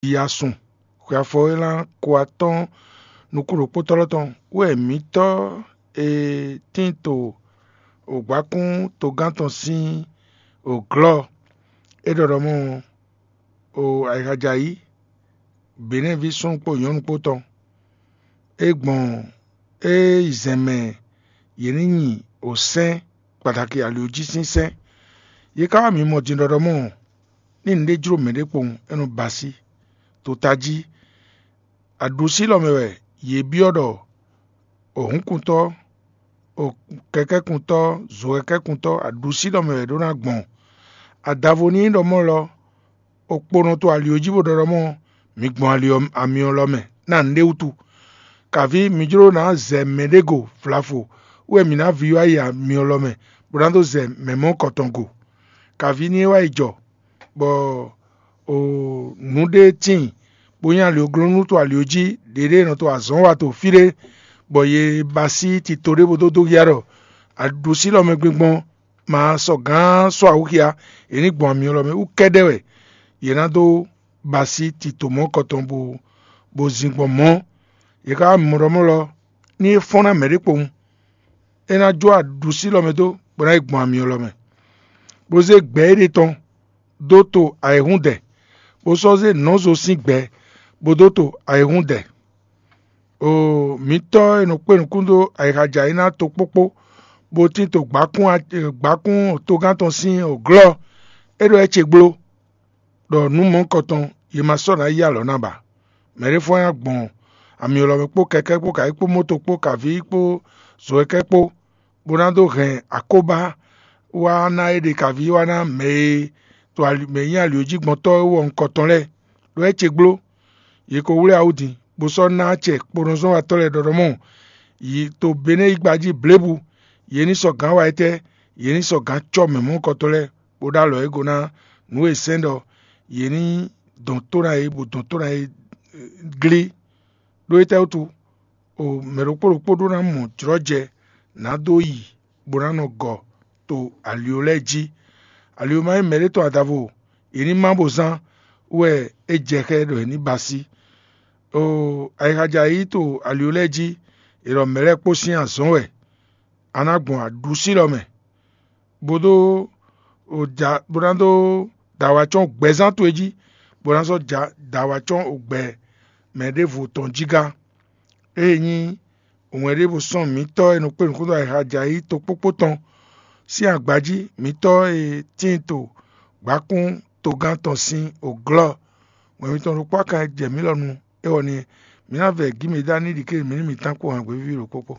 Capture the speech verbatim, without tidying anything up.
Yiyi asun xwe afɔ e lan ko atɔ́ɔ́n nukún ɖokpótɔ́ lɔ tɔn wɛ mǐtɔ́ e tín to ògbákún togán tɔn sín òglɔ́ é ɖɔ ɖɔ mɔ́ o ayǐhádjayǐ Benɛ́ɛví súnnu kpó nyɔ̌nu kpó tɔn. É gbɔn é yi zɛn mɛ yě ní nyi osɛ́n kpaɖaki ali jí sín sɛ́n. Yě ká wá mǐ mɔ din ɖɔ ɖɔ mɔ́ ní nǔɖé jló mɛɖé kpowun é nɔ ba así. To tají aɖusí lɔ mɛ wɛ yě byɔ́ ɖɔ òhúnkuntɔ́, kɛkɛ́kuntɔ́, zokɛkɛ́kuntɔ́, aɖusí lɔ mɛ wɛ ɖó ná gbɔn. Adavo ní nyí ɖɔ mɔ́ lɔ, okponɔ to ali jí bó ɖɔ ɖɔ mɔ́, mi gbɔn ali amyɔ lɔ mɛ ná nǔɖé wútu. Kàví mi jló ná zɛ mɛɖé go vlafo wɛ mǐ ná vi wá yi amyɔ lɔ mɛ bó ná dó zɛ mɛ mɔ̌kɔtɔn go. Kàví ní é wá yi jɔ bɔ nǔɖé tíin bó nyí alioglɔ́nú to ali jí ɖěɖé nɔ to azɔ̌ wa to fí ɖé, bɔ yě ba sí tito ɖé bó dó dó ya ɖɔ aɖusí lɔ mɛ gbingbɔn ma sɔ gǎn sɔ́ awǔxia, yě ní gbɔn amyɔ lɔ mɛ wú kɛ́ɖɛ́ wɛ yě ná dó ba sí tito mɔ̌kɔtɔn bó bó zin gbɔn mɔ̌. Yě ká wá mɔ ɖɔ mɔ́ lɔ ní é fɔ́n ná mɛ̌ ɖé kpowun, é ná jó aɖusí lɔ mɛ dó bó ná yi gbɔn amyɔ lɔ mɛ, bó zé gbɛ̌ éɖée tɔn dó to ayǐhúndɛ, bó sɔ́ zé nɔ̌zo sín gbɛ̌ bó dó to ayǐhúndɛ. Oo, mǐtɔ́ e nɔ kpé nukún dó ayixa jɛ ayǐ ná tokpókpó, bó tín to gbǎkún gbǎkún togán tɔn sín glɔ́, é ɖɔ é ce gbló ɖɔ nǔ mɔ̌hunkɔtɔn yě ma sɔ́ ná yí alɔ ná ba. Mɛ̌ ɖé fɔ́n ná gbɔn amyɔ lɔ mɛ kpó kɛkɛ́ kpó kayí kpó moto kpó kavǐ kpó zɔ̌kɛ́ kpó, bó ná dó hɛn akóbá wá ná é ɖe kavǐ wá ná mɛ e to mɛ nyí ali jí gbɔn tɔ́ é wɔ nukɔntɔn lɛ́ɛ, ɖó é ce gbló. Yě ko wlí awú din, bó sɔ́ ná acɛ kponɔzɔ́watɔ́ lɛ́ɛ ɖɔɖɔmɔ yi to Benɛ́ yígbá jí blěbǔ. Yě ní sɔ́ gǎn wa étɛ́, yě ní sɔ́ gǎn cɔ́ mɛ mɔ̌hunkɔtɔn lɛ́ɛ, bó ɖó alɔ é go ná nǔ e sɛ́n ɖɔ yě ní dɔn tó ná yě, bó dɔn tó ná yě glí. Ɖó étɛ́ wútu? O mɛ ɖokpó ɖokpó ɖó ná mɔ jlɔ́jɛ ná dó yi bó ná nɔ gɔ to alio lɛ́ɛ jí. Alio ma nyí mɛɖé tɔn adavo, yě ní má bó zán wɛ é jɛ xá ɖɔ è ní ba sí. Oo, ayixa jɛ ayǐ to alio lɛ́ɛ jí, è ɖɔ mɛ̌ lɛ́ɛ kpó sín azɔ̌ wɛ. A ná gbɔn aɖusí lɔ mɛ, bó dó bó ná dó da wǎ cɔ́n gbɛzán towe jí, bó ná sɔ́ da wǎ cɔ́n ogbɛ mɛ ɖěvo tɔn jí gá. Ée nyí wɛn ɖěvo sɔ́ mǐtɔ́ e nɔ kpé nǔkúnto ayixa jɛ ayǐ tokpókpó tɔn sín agba jí, mǐtɔ́ e tíin to gbǎkún togán tɔn sín òglɔ́, wɛn mitɔn ɖokpó akan e jɛ mǐ lɔ nu é wɔ ni mǐ ná vɛ gǐ mǐ dá ní ɖi ké mǐ ní mǐtán kpó hǎngbéví ɖokpó kpó.